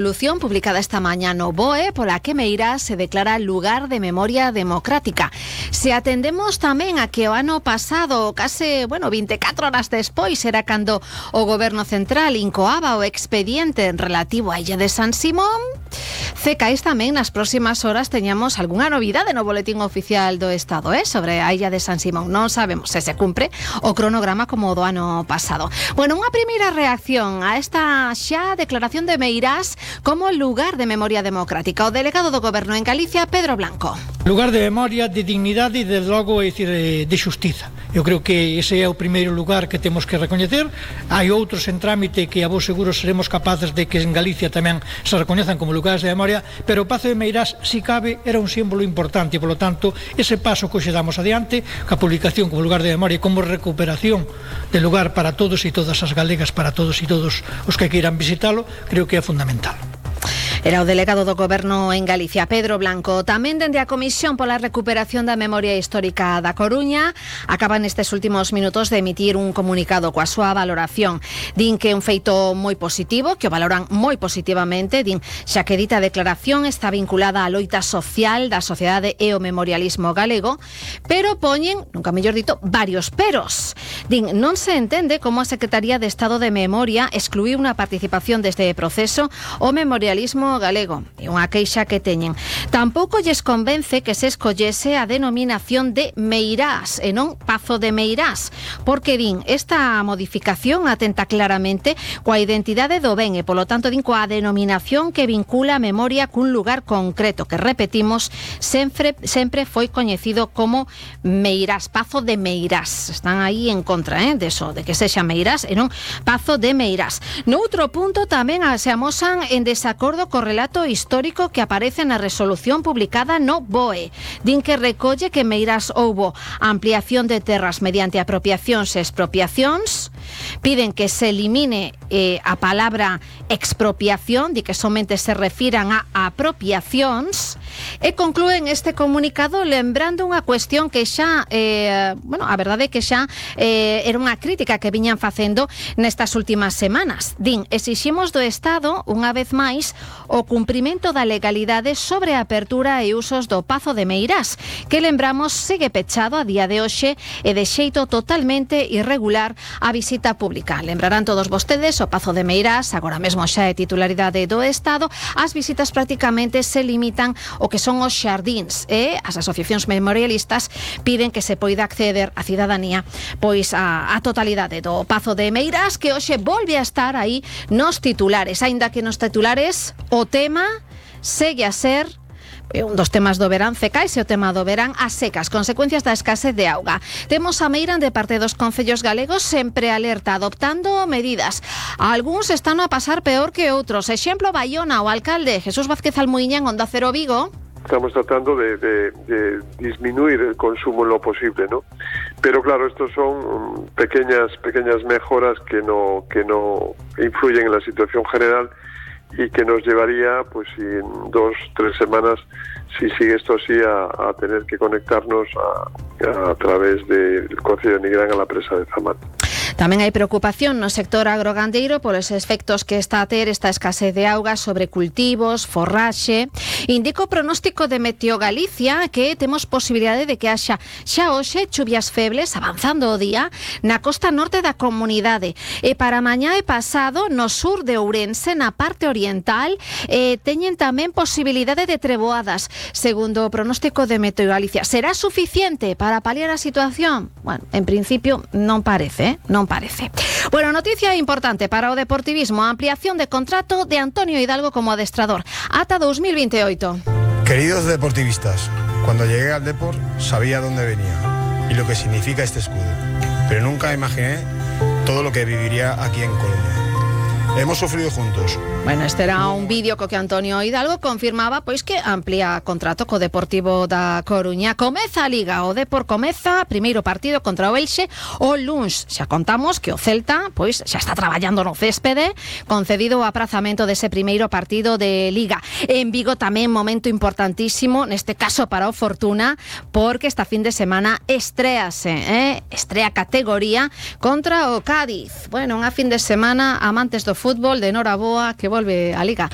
Resolución publicada esta mañá no BOE pola que Meirás se declara lugar de memoria democrática. Se atendemos tamén a que o ano pasado, case, 24 horas despois, era cando o Goberno Central incoaba o expediente relativo á illa de San Simón, cecais tamén nas próximas horas teñamos algunha novidade no Boletín Oficial do Estado, sobre a illa de San Simón. Non sabemos se se cumpre o cronograma como o do ano pasado. Unha primeira reacción a esta xa declaración de Meirás como lugar de memoria democrática. O delegado do Goberno en Galicia, Pedro Blanco. Lugar de memoria, de dignidade e, de logo, de xustiza. Eu creo que ese é o primeiro lugar que temos que recoñecer. Hai outros en trámite que a vos seguro seremos capaces de que en Galicia tamén se recoñezan como lugares de memoria, pero o Pazo de Meirás, si cabe, era un símbolo importante e, polo tanto, ese paso que hoxe damos adiante, a publicación como lugar de memoria e como recuperación de lugar para todos e todas as galegas, para todos e todos os que queiran visitalo, creo que é fundamental. Era o delegado do Goberno en Galicia, Pedro Blanco. Tamén dende a Comisión pola Recuperación da Memoria Histórica da Coruña acaban nestes últimos minutos de emitir un comunicado coa súa valoración. Din que é un feito moi positivo, que o valoran moi positivamente, din xa que dita declaración está vinculada á loita social da sociedade e o memorialismo galego, pero poñen, nunca mellor dito, varios peros. Din, non se entende como a Secretaría de Estado de Memoria excluíu unha participación deste proceso o memorialismo galego. É unha queixa que teñen. Tampouco lles convence que se escollese a denominación de Meirás e non Pazo de Meirás, porque din, esta modificación atenta claramente coa identidade do ben e, polo tanto, din coa denominación que vincula a memoria cun lugar concreto, que, repetimos, sempre foi coñecido como Meirás, Pazo de Meirás. Están aí en contra, deso, de que sexa Meirás e non Pazo de Meirás. No outro punto tamén se amosan en desacordo co relato histórico que aparece na resolución publicada no BOE. Din que recolle que en Meirás houbo ampliación de terras mediante apropiacións e expropiacións. Piden que se elimine a palabra expropiación, di que somente se refiran a apropiacións, e conclúen este comunicado lembrando unha cuestión que xa, a verdade é que xa era unha crítica que viñan facendo nestas últimas semanas. Din, exiximos do Estado, unha vez máis, o cumprimento da legalidade sobre a apertura e usos do Pazo de Meirás, que, lembramos, segue pechado a día de hoxe e de xeito totalmente irregular a visita pública. Lembrarán todos vostedes, o Pazo de Meirás agora mesmo xa é titularidade do Estado. As visitas prácticamente se limitan o que son os xardíns e as asociacións memorialistas piden que se poida acceder a cidadanía pois a totalidade do Pazo de Meirás, que hoxe volve a estar aí nos titulares, aínda que nos titulares o tema segue a ser un dos temas do verán, cecais, e o tema do verán, as secas, consecuencias da escasez de auga. Temos a Meira de parte dos concellos galegos sempre alerta, adoptando medidas. Algúns están a pasar peor que outros. Exemplo, Baiona, o alcalde Jesús Vázquez Almuiñán, Onda Cero Vigo. Estamos tratando de disminuir el consumo en lo posible, ¿no? Pero claro, estos son pequeñas mejoras que no influyen en la situación general y que nos llevaría, pues, en 2-3 semanas, si sigue esto así, a tener que conectarnos a través del Concello de Nigrán a la presa de Zamat. Tamén hai preocupación no sector agrogandeiro polos efectos que está a ter esta escasez de auga sobre cultivos, forraxe. Indica o pronóstico de Meteo Galicia que temos posibilidade de que haxa xa hoxe chuvias febles avanzando o día na costa norte da comunidade. E para mañá e pasado no sur de Ourense, na parte oriental, teñen tamén posibilidade de treboadas, segundo o pronóstico de Meteo Galicia. Será suficiente para paliar a situación? Bueno, en principio non parece, noticia importante para o deportivismo, a ampliación de contrato de Antonio Hidalgo como adestrador ata 2028. Queridos deportivistas, cuando llegué al Depor sabía dónde venía y lo que significa este escudo, pero nunca imaginé todo lo que viviría aquí en Coruña. Hemos sufrido juntos. Bueno, este era un vídeo co que Antonio Hidalgo confirmaba pois que amplía contrato co Deportivo da Coruña. Comeza a Liga, o Depor comeza primeiro partido contra o Elxe o luns. Xa contamos que o Celta pois xa está traballando no céspede, concedido o aprazamento dese primeiro partido de Liga. En Vigo tamén momento importantísimo, neste caso para o Fortuna, porque esta fin de semana estrea categoría contra o Cádiz. Bueno, unha fin de semana amantes do fútbol de Noraboa que volve a Liga.